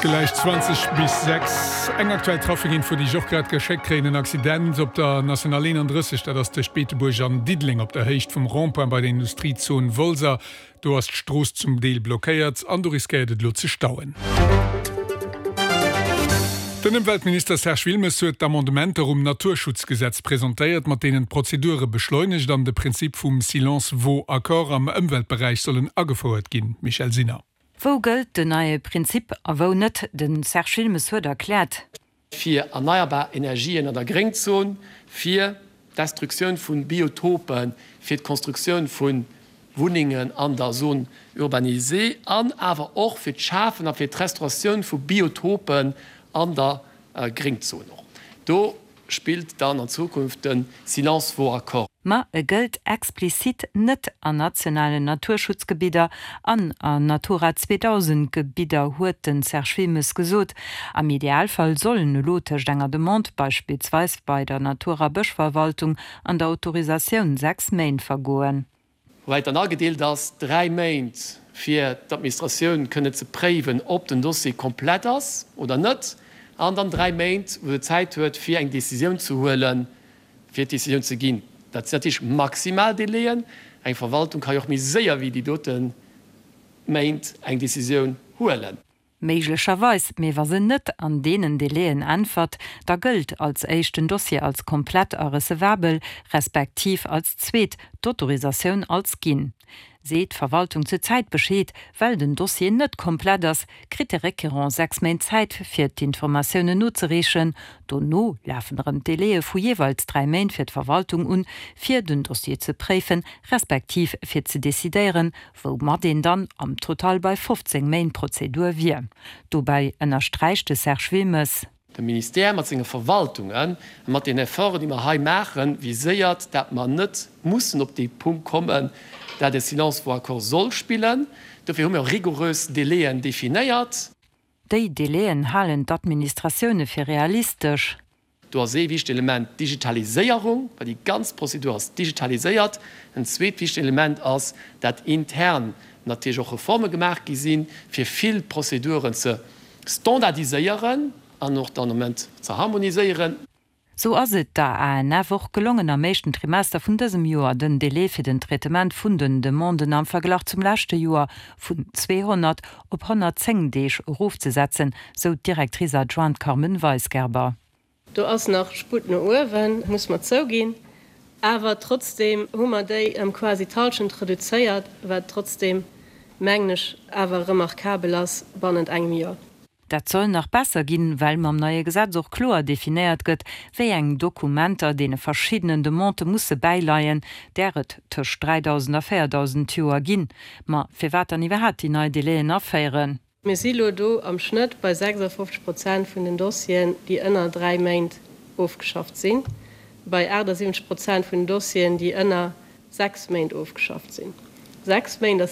Gläich 20 bis 6. Eng aktuell Trafikinfo, déi ech och grad geschéckt kréien, En Accident op der National 31, dat ass tëscht Beetebuerg an Diddeleng op der Héicht vum Rond-point bei der Industriezon Wolser. Do ass d'Strooss zum Deel blockéiert an do riskéiert et elo ze stauen. Den Ëmweltminister Serge Wilmes huet d'Amendementer um Naturschutzgesetz presentéiert, mat deenen d'Prozedure beschleunegt an de Prinzip vum Silence vaut accord am Ëmweltberäich sollen agefouert ginn. Michèle Sinner. Wou gëllt den neie Prinzip a wou net? De Serge Wilmes huet erkläert. fir erneierbar Energien an der Gréngzon, fir d'Destruktioun vu Biotopen, fir d'Konstruktioun vu Wunnengen an der Zone urbanisée an awer och fir d'Schafen a fir d'Restauratioun vu Biotopen an der Gréngzon. Och do spillt dann an Zukunft de Silence vaut accord. Ma e gëllt explizit net an nationalen Naturschutzgebidder an an Natura 2000 Gebidder, huet de Serge Wilmes gesot. Am Idealfall sollen elo tëscht enger Demande, beispillsweis bei der Natur a Bëschverwaltung, an der Autorisatioun 6 Méint vergoen. Woubäi et dann agedeelt ass, 3 Méint fir d'Administratioun kënne ze préiwen, ob den Dossier komplett ass oder net, an dann 3 Méint, wou se Zäit huet, fir eng Décisioun ze huelen, fir d'Décisioun ze ginn. Dat sinn natierlech maximal Délaiën. Eng Verwaltung ka jo och méi séier wéi déi dote Méint eng Décisioun huelen. Méiglecherweis, mee wa se net an deenen Délaiën äntwert, da gëllt als éischt den Dossier als komplett a recevabel, respektiv als zweet d'Autorisatioun als ginn. Seet d'Verwaltung zur Zäit Bescheed, well den Dossier net komplett ass, kritt de Requérant 6 Méint Zäit fir d'Informatiounen nozereechen. Dono lafen erëm d'Délaië vu jeeweils 3 Méint fir d'Verwaltung un, fir den Dossier ze préifen, respektiv fir ze decidéieren, woumat een dann am Total bei 15 Méint Prozedur wier. Dobäi ënnersträicht de Serge Wilmes. De Ministère mat senge Verwaltungen a mat den Efforten, déi mer hei maachen, viséiert, dat mer net mussen op dee Punkt kommen, dat e Silence vaut accord soll spillen. Dofir hu mir och rigourös Délaiën definéiert. Déi Délaiën halen d'Administratioune fir realistesch. Do ass ee wichtegt Element d'Digitaliséierung, well déi ganz Prozedur ass digitaliséiert. En zweet wichtegt Element ass, dat intern natierlech och Reforme gemaach gi sinn, fir vill Prozeduren ze standardiséieren an och dann am Ament ze harmoniséieren. Sou ass et der ANF och gelongen, am éischten Trimester vun dësem Joer den Délai fir den Traitement vun den Demanden am Verglach zum leschte Joer vun 200 op 110 Deeg erofzesetzen, sou d'Directrice adjointe Carmen Weisgerber. Do ass nach Sputt no uewen, muss mer zouginn, awer trotzdeem hu mer déi ëm quasi d'Hallschent reduzéiert, wat trotzdeem, mengen ech, awer remarkabel ass bannent engem Joer. Dat soll nach besser ginn, well mam neie Gesetz och kloer definéiert gëtt, wéi eng Dokumenter deene verschiddenen Demandë musse bäileien, där et tëscht 3.000 a 4.000 d'Joer ginn. Ma firwat dann iwwerhaapt déi nei Délaiën aféieren? Mir si lo do am Schnëtt bei 56 Prozent vun den Dossieren, déi ënner 3 Méint ofgeschafft sinn, bei 78 Prozent vun den Dossieren, déi ënner 6 Méint ofgeschafft sinn. 6 Méint ass.